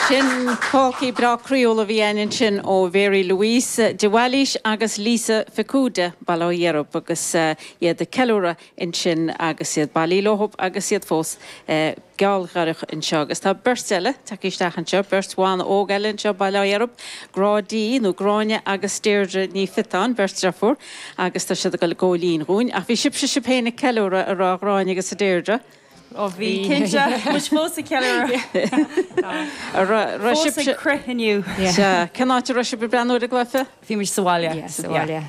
Sin polcaí breá croíúil a bhí againn ansin ó Mhary Louise de Bhailís agus Lisa Ficuda, Baile Átha Dheirb, agus iad ag ceiliúradh ansin agus iad bailithe leo agus iad fós gealgháireach anseo. Agus tá beirt eile tagtha isteach anseo, beirt bhan óg eile anseo, Baile Átha Dheirb, Grá Dí nó Gráinne agus Deirdre Ní Phiotáin, beirt deirfiúr, agus tá siad ag dul ag gabháil fhoinn dhúinn. Ach bhí sibhse sibh féin ag ceiliúradh, a raibh a Ghráinne agus a Deirdre? Ó bhí, cinnte. Muid fós ag ceiliúradh. Fós ag crith inniu. Sea. Cén áit a raibh sibh ag breathnú ar an gcluiche? Bhí muid sa bhaile. Yeah, sa bhaile.